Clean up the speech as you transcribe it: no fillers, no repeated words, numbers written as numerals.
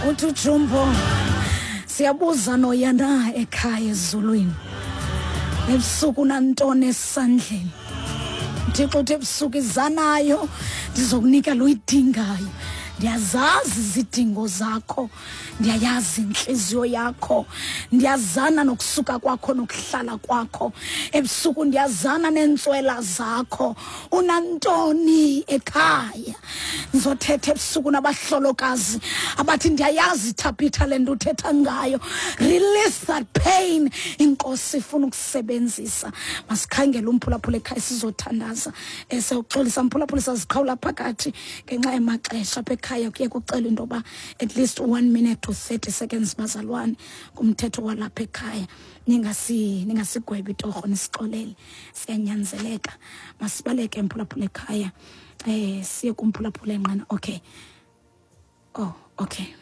Uthi ujumbo, siyabuza noya na ekhaya ezulwini ebusuku nantoni esandleni? Thixo uthi ebusuku izanayo, ndizokunika luyidingayo. Ndiyazazi izidingo zakho, ndiyayazi intliziyo yakho, ndiyazana nokusuka kwakho nokuhlala kwakho ebusuku, ndiyazana neentswela zakho. Unantoni ekhaya? Ndizothetha ebusuku nabahlolokazi abathi ndiyayazi Thabitha le nto uthetha ngayo. Release that pain. Inkosi ifuna ukusebenzisa. Masikhangele umphulaphula ekhaya, sizothandaza. Sewuxolisa mphulaphula, saziqhawula phakathi ngenxa yamaxesha apha ekhaya. Kuye kucelwa into yoba at least 1 minute to 30 seconds, bazalwane, kumthetho walapha ekhaya. Ningasigwebi torho, nisixolele, siyanyanzeleka. Masibaleke mphulaphula ekhaya, siye kumphulaphula enqana. Okay, oh okay.